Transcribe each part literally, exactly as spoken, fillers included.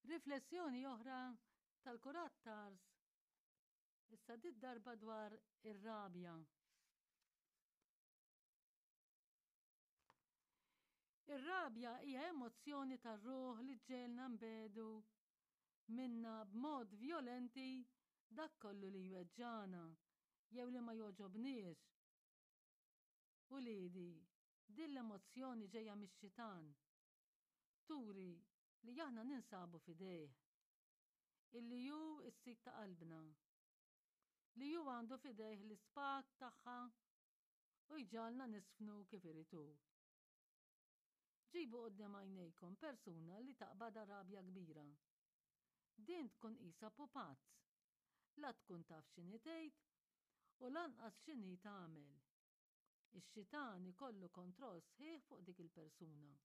Riflessjoni oħra tal-Kurat Tars, issa did-darba dwar ir-rabja. Ir-rabja hija emozzjoni tar-ruħ li ġġegħelna nbedu minna b'mod vjolenti dak kollu li jweġġagħna jew li ma jogħġobniex. Uliedi, din l-emozzjoni ġejja mix-xitan. Turi li aħna ninsabu f'idejh. Illi hu s-sid ta' qalbna. Li hu għandu f'idejh l-ispag tagħha u jġagħalna nisfnu kif irid hu. Ġibu quddiem għajnejkom persuna li taqbadha rabja kbira. Din tkun qisha pupazz. La tkun taf x'inhi tgħid u lanqas x'inhi tagħmel. Ix-xitan ikollu kontroll sħiħ fuq dik il-persuna.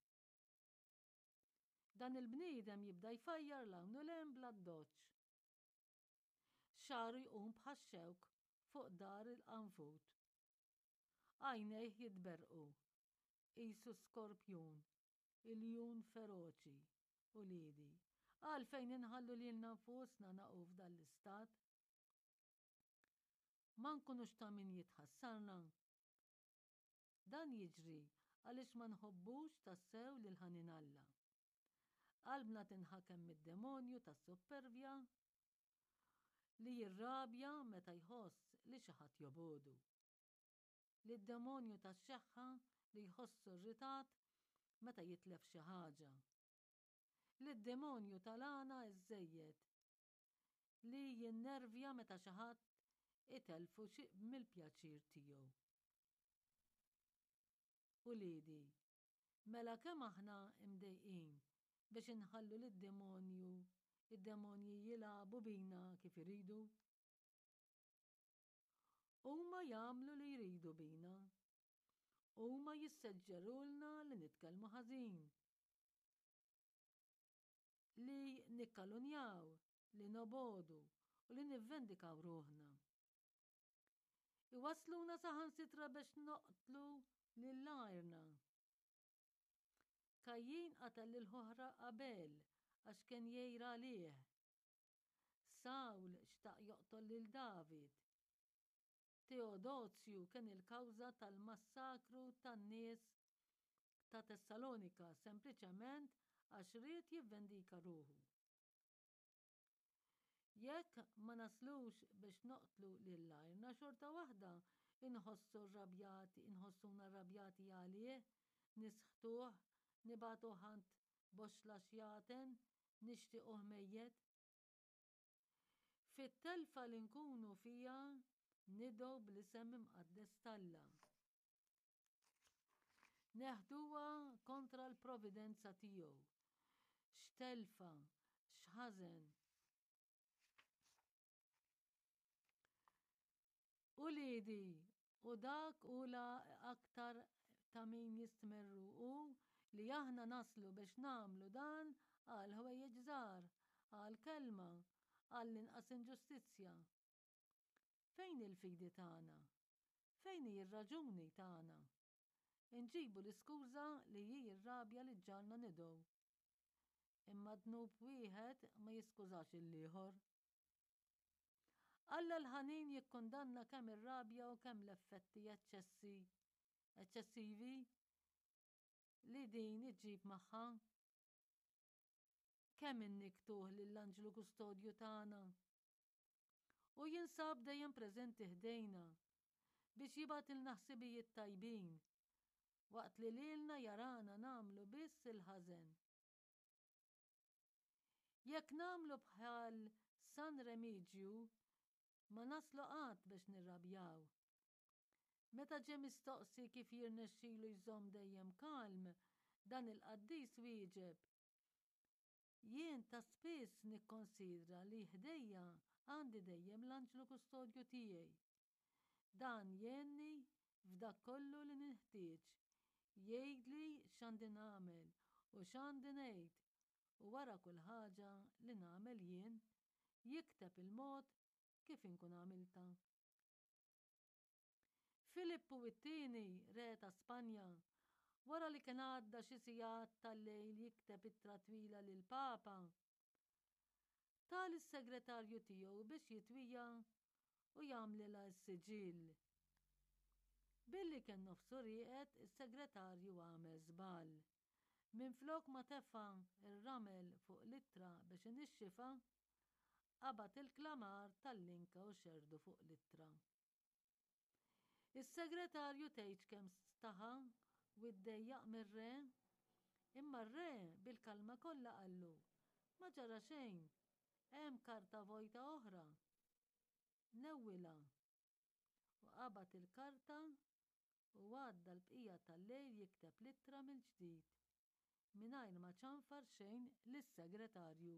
Dan il-bniedem jibda jfajjar 'l hawn u 'l hemm bl-addoċċ. Xagħru jqum bħax-xewk fuq dar il-qanfud. Għajnejh jitberrqu, qisu skorpjun, iljun feroċi, uliedi. Għalfejn inħallu lilna nfusna naqgħu f'dan l-istat? Ma nkunux ta' min jitħassarna? Dan jiġri għaliex ma nħobbux tassew lil ħanin Alla. Qalbna tinħakem mid-demonju tas-suppervja li jirrabja meta jħoss li xi ħadd jobogħdu. Lid-demonju tax-xeħħa li jħossu rritat meta jitlef xi ħaġa. Lid-demonju tal-għana ż-żejjed li jinnervja meta xi ħadd itellfu xi mill-pjaċir tiegħu. Uliedi, mela kemm aħna mdejqin biex inħallu lid-demonju id-demonji jilagħbu bina kif iridu? Huma jagħmlu li jridu bina. Huma jisseġġerulna li nitkellmu ħażin, li nikkalunjaw, li nobogħdu u li nivvendikaw ruħna. Iwassluna saħansitra biex noqtlu lil għajrna. Kajjin qatel lil ħuh Abel għax kien jgħir għalih. Sawl xtaq joqtol lil David. Teodozju kien il-kawża tal-massakru tan-nies ta' Tessalonika sempliċement għax ried jivvendika ruħu. Jekk ma naslux biex noqtlu lil għajrna xorta waħda inħossu rrabjati, inħossuna rrabjati għalih, nisħtuh, nibagħtuh għand boxxla xjaten, nixtiequh mejjet. Fit-telfa li nkunu fiha nidgħu bl-isem imqaddes t'Alla. Neħduha kontra l-providenza tiegħu. X'telfa, x'ħażen. Uliedi, u dak hu la aktar ta' min jistmerru hu li aħna naslu biex nagħmlu dan għal ħwejjeġ żgħar, għal kelma, għall-inqas inġustizzja. Fejn hi l-fidi tagħna? Fejn hi r-raġuni tagħna? Inġibu l-iskuża li hi r-rabja li ġġagħalna nidgħu. Imma dnub wieħed ma jiskużax il-ieħor. Alla l-ħanin jikkundanna kemm ir-rabja u kemm l-effetti eċċessi eċċessivi li din iġġib magħha. Kemm innikktuh lill-anġlu kustodju tagħna. U jinsab dejjem preżenti ħdejna biex jibgħatilna ħsibijiet tajbin waqt li lilna jarana nagħmlu biss il-ħażen. Jekk nagħmlu bħal San Remiġju, ma naslu qatt biex nirrabjaw. Meta ġie mistoqsi kif jirnexxilu jżomm dejjem kalm, dan il-qaddis wieġeb, Jien ta' spiss nikkonsidra li ħdejja għandi dejjem l-anġlu kustodju tiegħi. Dan jgħinni f'dak kollu li ninħtieġ, jgħidli x'għandi nagħmel u x'għandi ngħid, u wara kull ħaġa li nagħmel jien, jikteb il-mod kif inkun għamiltha. Filippu it-Tieni, re ta' Spanja, wara li kien għadda xi sigħat tal-lejl jikteb ittra twila lill-Papa, Ta lis-segretarju tiegħu biex jitwija u jagħmlilha s-siġill. Billi kien nofsu rieqed, is-segretarju għamel żball. Minflok ma tefa' r-ramel fuq l-ittra biex inixxifha, qabad il-klamar tal-linka u xerrdu fuq l-ittra. Is-segretarju tgħidx kemm staħa u ddejjaq mir-re, imma r-re bil-kalma kollha qallu: "Ma ġara xejn, hemm karta vojta oħra. Newwilha." U qabad il-karta u għadda l-bqija tal-lejl jikteb l-ittra mill-ġdid mingħajr ma ċanfar xejn lis-segretarju.